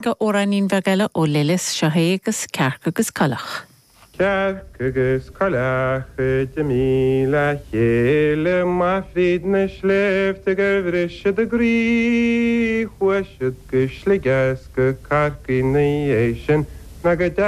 Amhráinín bheag eile ó Lillis, seo é agus Cearc agus Coileach. Cearc agus coileach a d'imigh le chéile amach fríd na sléibhte gur bhris siad a gcroí. Chuaigh siad go Sligeach 's go Corcaigh 'na dhiaidh sin ná go.